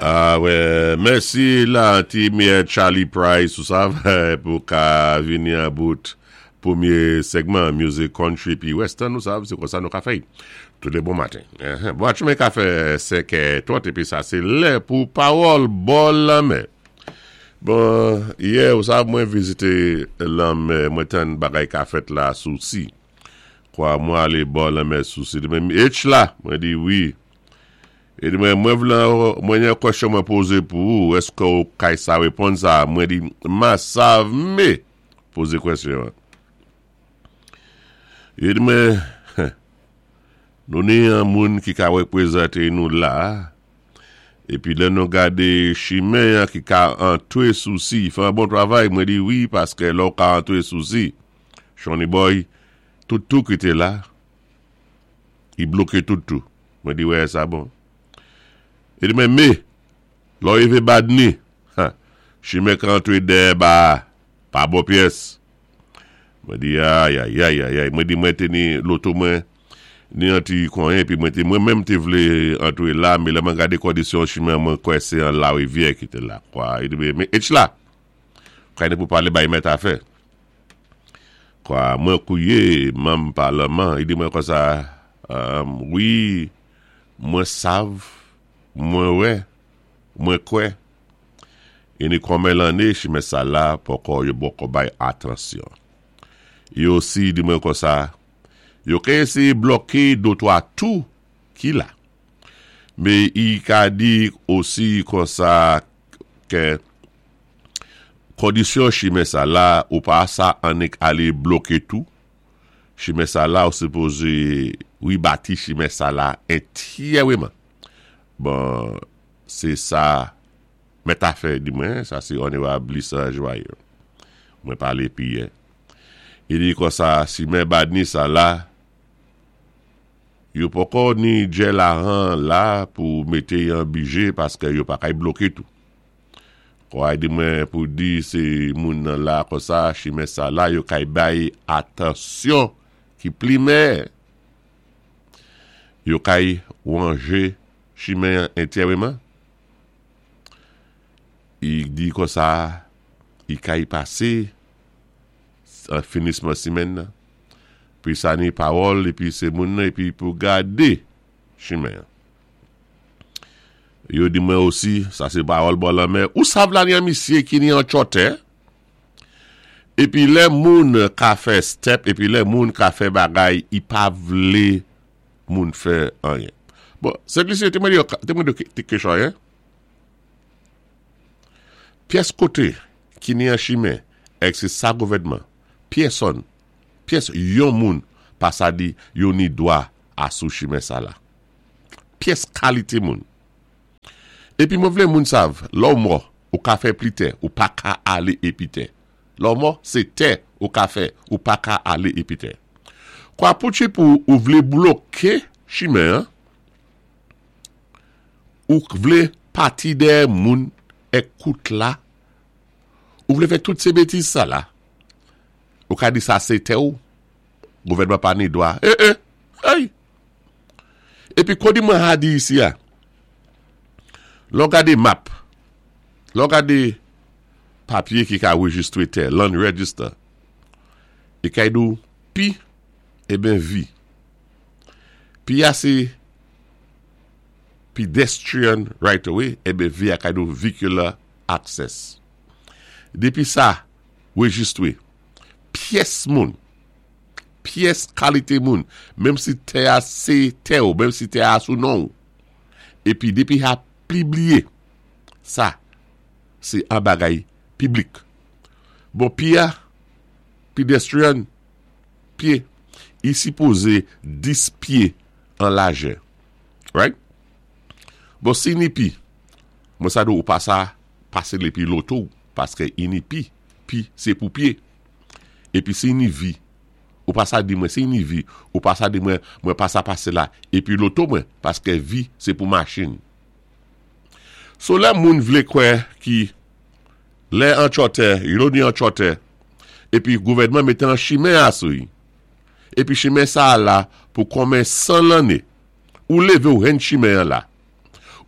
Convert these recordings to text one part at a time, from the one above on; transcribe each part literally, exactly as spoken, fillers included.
Ah wè, mèsi la ti mè Charlie Price ou sa pou ka vini an bout pwémyé segman music country pi western, ou sav, sé konsa nou ka fè tous les bons matins. Bon, tu ka fè senkè twant épi sa sé lè pou pawòl bò lanmè. Bon, yè, ou sav, mwen vizité lanmè, mwen tann bagay ka fèt la Souci. Kwa mwen alé bò lanmè Souci. Di mwen, H la, mwen di wi. É di mwen, mwen vlé, mwen yon kwèsyon mwen pozé pou ou, èské ou kay sa wéponn sa? Mwen di, ma sav mé pozé kwèsyon. É di mwen, nou ni an moun ki ka wépwézanté nou la, épi lè nou gadé chimen an ki ka antwé Souci, fè an bon travay, mwen di wi, paské lò ka antwé Souci, Shawnee Boy, tout tou ki té la, i bloké tout tou. Mwen di wè, sa bon. É di mwen, mé, lò rivé Badni, chimen ka antwé dèyè ba, pa bon pyès. Mwen di, ay, ay, ay, ay, ay, mwen di mwen té ni loto mwen, ni anti konyen, épi mwen té, mwen menm té vlé antwé la, mé lè mwen gadé kondisyon chimen, mwen kwè sé an larivyè ki té la, kwa. É di mwen, mé, H la, kay ni pou palé bay mèt afè. Kwa, mwen kouwé, manm palman, i di mwen konsa, um, wi, mwen sav, mwen wè, mwen kwè, é ni konmen lanné, chimen sa la, poko yo poko bay atansyon. Yo osi di mwen konsa, yo ka éséyé bloké dotwa tou ki la. Mé i ka di osi konsa ké kondisyon chimen sa la, ou pa sa annik alé bloké tou. Chimen sa la ou sipozé wibati chimen sa la entyèweman. Bon, sé sa mèt afè di mwen, sa sé Honorable Lisa Joyeux. Mwen palé pi yè. I di konsa, chimen Badni sa la, yo poko ni djè lajan la pou mété yon bidjé paské yo pa kay bloké tou. Kwa di mwen pou di sé moun nan la konsa, chimen sa la, yo kay bay atansyon ki pli mè. Yo kay wanjé chimen entyèweman. I di konsa, i kay pasé an finisman simenn nan. Pi sa ni pawòl, épi sé moun nan, épi pou gadé chimen. Yo di mwen osi, sa sé pawòl bò lanmè, ou sav la ni an misyé ki ni an chòtè, épi lè moun ka fè step, épi lè moun ka fè bagay, i pa vlé moun fè anyen. Bon, Saint-Lucie, té mwen di yo, té mwen di yo té kéchò, hein? Pyès koté ki ni an chimen, èk sé sa gouvèdman, pyèsonn, pyès yon moun pa sa di yo ni dwa a sou chimen sa la. Pyès kalité moun. Épi mwen vlé moun sav, lò ou mò, ou ka fè pli tè, ou pa ka alé épi tè. Lò ou mò, sé tè ou ka fè, ou pa ka alé épi tè. Kwa pou ti pou ou vlé bloké chimen, hein? Ou vlé pati dè moun èk kout la, ou vlé fè tout sé bétiz sa la, ou ka di sa sé tè ou, gouvèdman pa ni dwa. Eh eh, hey! Épi kon di mwen ha di isi a, lò gadé map, lò gadé papyé ki ka rejistwé tè, land register, é kay di ou P eben V. P a sé pedestrian right away, eben V a kay di ou vehicular access. Dépi sa, rejistwé, pyès moun, pyès kalité moun, menm si tè a sé tè ou, menm si tè a sou non ou, épi dépi a pibliyé, sa, sé an bagay piblik. Bon, P a, pedestrian, pyé, i sipozé dis pyé an lajè. Right? Bon, si ni P, mwen sa do ou pa sa pasé lépi loto, paské i ni P, P sé pou pyé. Épi si ni V, ou pa sa di mwen, si ni V, ou pa sa di mwen, mwen pa sa pasé la, épi loto mwen, paské V sé pou machin. So lè moun vlé kwè ki lè an chòtè, yo ni an chòtè, épi gouvèdman mété an chimen asou yi. Épi chimen sa la pou konmen san lanné, ou lévé ou hen chimen an la.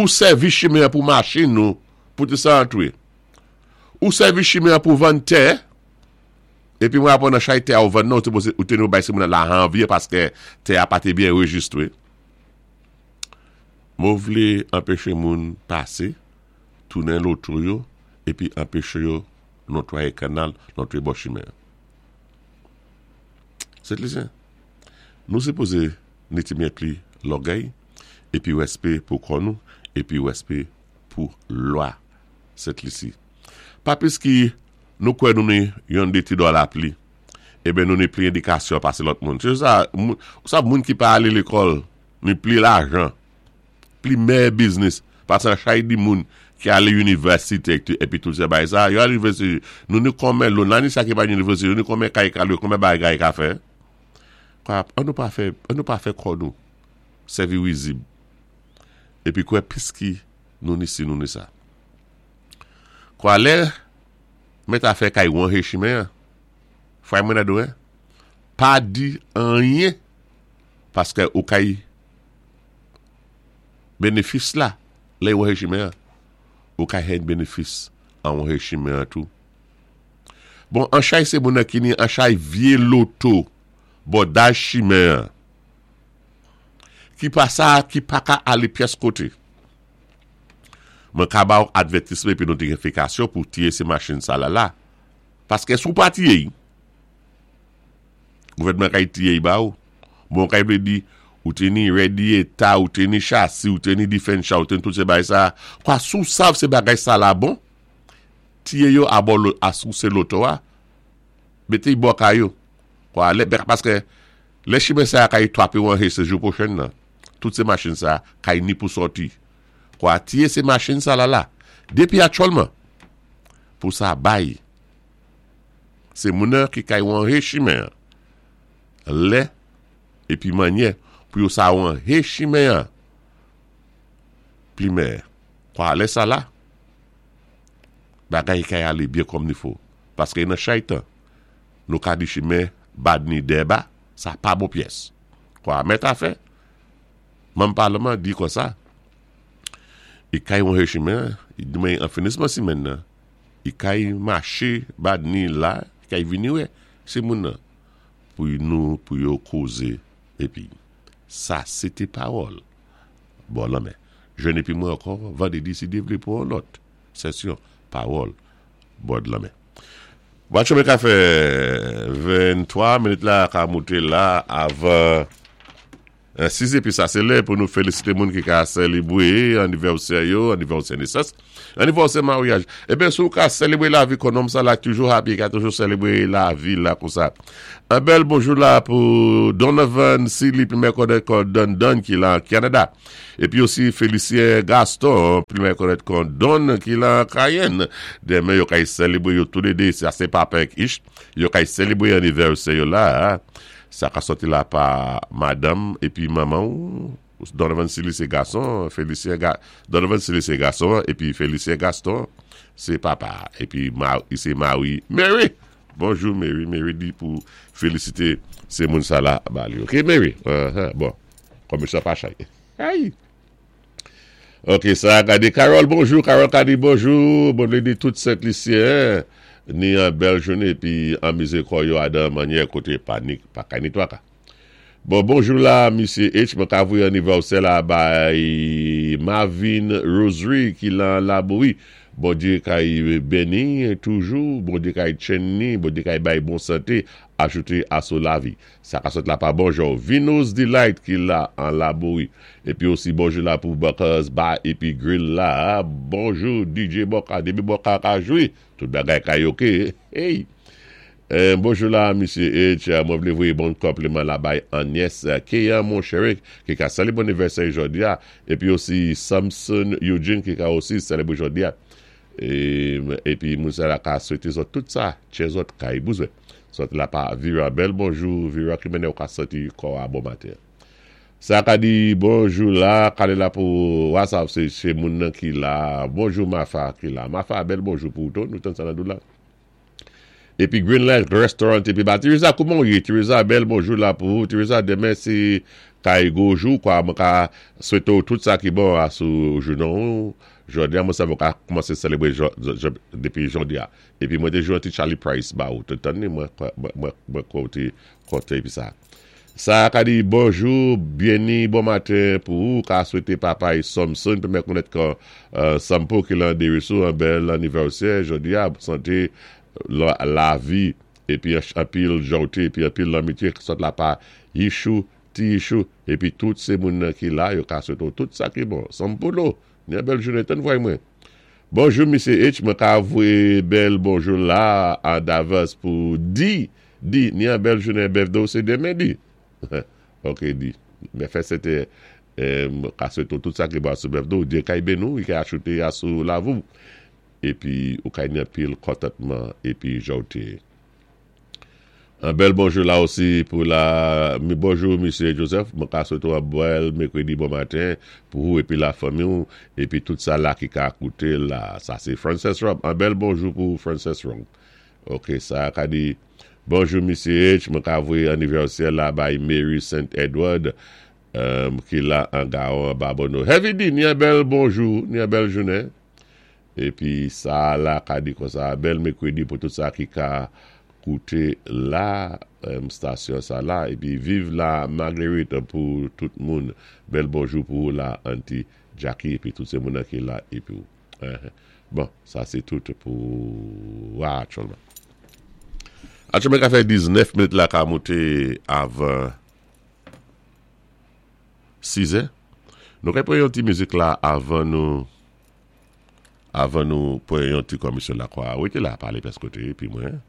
Ou sèvi chimen pou machin nou, pou té sa antwé. Ou sèvi chimen pou vann tè, épi mwen apwann nan chay tè a ou vann nan, ou té nou bay sé moun la anvyé paské tè a pa té byen anrejistwé. Mwen vlé anpéché moun pasé, tounen loto yo, épi anpéché yo notwayé kannal, notwayé bò chimen. Sent Lisyen. Nou sipozé ni ti mwen pli lògèy, épi wèspé pou kò nou, épi wèspé pou lwa Sent Lisi. Pa piski nou kwè nou ni yon dé ti dola pli, eben nou ni pli édikasyon pasé lòt moun. Sé sa, sa moun ki pa alé lékòl, ni pli lajan, pli mèyè biznis, pasé an chay di moun ki alé inivèsité épi tout sé bagay sa, yo alé inivèsité, nou ni konmen loun, la ni sa ki pa inivèsité, nou ni konmen kay ka lwé, konmen bagay ka fè. Kwa, an nou pa fè, an nou pa fè kò nou, sèvi wizib. Épi kwè piski nou ni si nou ni sa. Kwa lè, mèt afè kay wanjé chimen, fray mwen adoré, pa di anyen, paské ou kay bénéfis la, lè wanjé chimen, ou kay hen bénéfis an wanjé chimen tou. Bon, an chay sé moun ki ni an chay vyé loto, bò daj chimen, ki pa sa, ki pa ka alé pyès koté. Mwen ka ba ou advètisman épi notifikasyon pou tiyé sé machin sa la la. Paské sou pa tiyé, gouvèdman kay tiyé ba ou. Bon kay vlé di, ou té ni radiator, ou té ni chasi, ou té ni diferansya, ou té ni tout sé bagay sa. Kwa sou sav sé bagay sa la bon, tiyé yo a bò a sou sé loto a, mété bò kay yo. Kwa lè, paské lè chimen sa kay twapé ou an sé jou pwochen nan. Tout sé machin sa kay ni pou sòti. Kwa tiyé sé machin sa la la. Dépi aktyèlman, pou sa bay, sé moun ki kay wanje chimen. Lè, épi manyè, pou yo sa wanje chimen. Pli mè, kwa lè sa la, bagay kay alé byen kòm ni fo. Paské nan chay tan, nou ka di chimen bad ni déba, sa pa bon pyès. Kwa mèt afè, manm palman di kon sa, i kay wanje chimen, i di an finisman simenn nan, i kay maché bad ni la, i kay vini wè, sé moun nan, pou nou, pou yo kozé, épi, sa sé té pawòl. Bon la men, jwenn épi mwen ankò, vandrédi si Dye vlé pou yon lòt sesyon, pawòl, bò lanmè. Watch ka fè venntwa minit la ka mouté la avan sis épi sa sé lè pou nou félisité moun ki ka sélébwé anivèsè yo, anivèsè nesans, anivèsè maryaj. Eben sou ka sélébwé lavi kon nonm sa la toujou happy, ka toujou sélébwé lavi la kon sa. An bèl bonjou la pou Donovan Silly, pi mè konnèt kon Don Don ki la Kanada. Épi osi Félicien Gaston, pi mè konnèt kon Don ki la Cayenne. Denmen yo kay sélébwé yo tou lé dé, sa sé papa ek ich, yo kay sélébwé anivèsè yo la. Sa ka sòti la pa madanm épi manman ou Donovan Silly sé gason, Félicien Ga, Donovan Silly sé gason, épi Félicien Gaston sé papa, épi ma, sé Marie Mary. Bonjou Mary, Mary di pou félisité sé moun sa la ba li. OK Mary. Uh-huh. Bon. Kòm sa pa chay. Hey. OK, sa gadé Carole, bonjou Carole ka di bonjou, bon di tout Sent Lisyen ni an bèl jounen épi anmizé kò yo adan manyè koté panik pa kay ni twaka. Bon, bonjou la, Mesye H, mwen ka voyé anivèsè la bay Marvin Rosary ki lan Labouri. Bondyé kay béni toujou, Bondyé kay tchenn ni, Bondyé kay bay bon santé, ajouté a sou lavi. Sa ka sot la pa bonjou. Vino's Delight ki la an Labouri. Épi osi bonjou la pou Buckers Bar épi Grill la. Bonjou D J Boka, D J Boka ka jwi. Tout bagay kay ok. Hey. Euh, bonjou la, Mesye H. Mwen vlé voyé bon konpliman la bay Agnès Keya, mon chéri, ki ka sélébwé anivèsè jòdi a. Épi osi Samson Eugene ki ka osi sélébwé jòdi a. É, épi moun sa la ka swété zòt tout sa, tchè zòt kay bouzwé. Sòt la pa Vira Bel, bonjou Vira ki mennen ou ka sòti kò a bon maten. Sa ka di bonjou la, kale la pou WhatsApp sé sé moun nan ki la. Bonjou Mafa ki la. Mafa bèl bonjou pou tou, nou tan sa nan dou la. Épi Greenland Restaurant épi ba Teresa, kouman ou yé? Teresa, bèl bonjou la pou ou. Teresa, denmen sé kay gwo jou kwa mwen ka swété ou tout sa ki bon asou jounen. Jòdi-a, mwen sa mwen ka koumansé sélébwé dépi jòdi-a. Épi mwen té jwé an ti Charlie Price ba ou. Té tann ni mwen mwen kwè ou té kontan épi sa. Sa ka di bonjou, byeni, bon maten pou ou ka swété papa e Samson pou mwen konnèt kan Sampo ki lan Desruisseaux an bèl anivèsè jòdi-a, santé lavi épi anpil jòwté épi anpil lanmitye sot la pa Yishou, ti Yishou épi tout sé moun ki la yo ka swété ou tout sa ki bon. Sampo lo, ni an bèl jounen tann vway mwen. Bonjou Misye H, mwen ka voyé bèl bonjou la an davans pou di, di, ni an bèl jounen birthday sé denmen di. Ok di, mwen fè sé té ka swété ou tout sa ki bon sou birthday ou, Dye kay béni ou, i kay achouté asou lavou. Épi ou kay ni anpil kontantman épi jòwté. An bèl bonjou la osi pou la, mi bonjou Misye Joseph, mwen ka swété ou an bèl mèkwédi bon maten pou ou épi la fanmi ou, épi tout sa la ki ka kouté la, sa sé Frances Rob, an bèl bonjou pou Frances Rob. Ok, sa ka di, bonjou Misye H, mwen ka voyé anivèsè la bay Mary Saint Edward, ki la an Gaon Babonneau. Heavy D, ni an bèl bonjou, ni an bèl jounen. Épi sa la ka di konsa, bèl mèkwédi pou tout sa ki ka kouté la stasyon sa la, épi viv la Marguerite pou tout moun. Bèl bonjou pou la Auntie Jackie, épi tout sé moun ki la, épi ou. Bon, sa sé tout pou aktyèlman. Aktyèlman ka fè diznèf minit la ka mouté avan sizè. Nou kay pran yon ti mizik la avan nou avan nou pran yon ti komisyon la kwa. Ou té la palé pès koté, épi mwen.